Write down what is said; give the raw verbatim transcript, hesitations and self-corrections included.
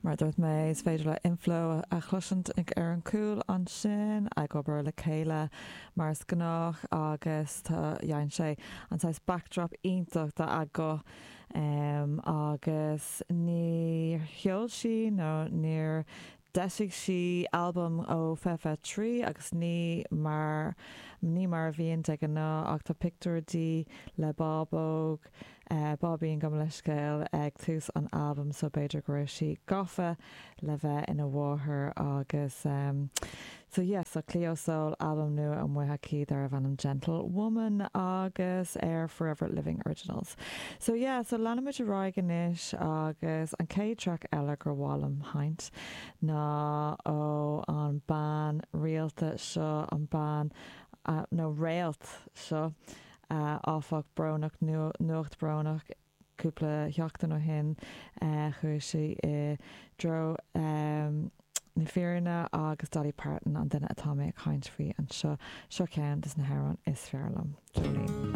Mar a dúirt mé, is féidir le Inflo a chloisint ar an gcúl ansin ag obair le chéile mar is gnách agus dhein sé an saghas backdrop iontach dá guth um, agus níor sheol sí nó níor d'eisigh sí albam ó fiche trí agus ní mar ní mar a bhíonn de ghnáth ach tá pictiúr di le bábóg uh, bábín gabh mo leithscéal ag tús an albam so b'fhéidir go raibh sí gafa le bheith ina mháthair agus um, so yeah, so Cleo Sol albam nua amuigh aici darbh ainm Gentle Woman agus ar Forever Living Originals. So yeah, so leanfaimid ar aghaidh anois agus an chéad track eile gur mhaith liom a sheinnt ná ó an bean rialta seo an bean uh, nó réalt seo uh, áfach brónach nuacht brónach cúpla seachtain ó shin uh, chuaigh sí i dtreo um, na fírinne agus Dolly Parton an duine atá mé ag caint faoi anseo seo ceann des na hamhráin is fearr liom. Jolene.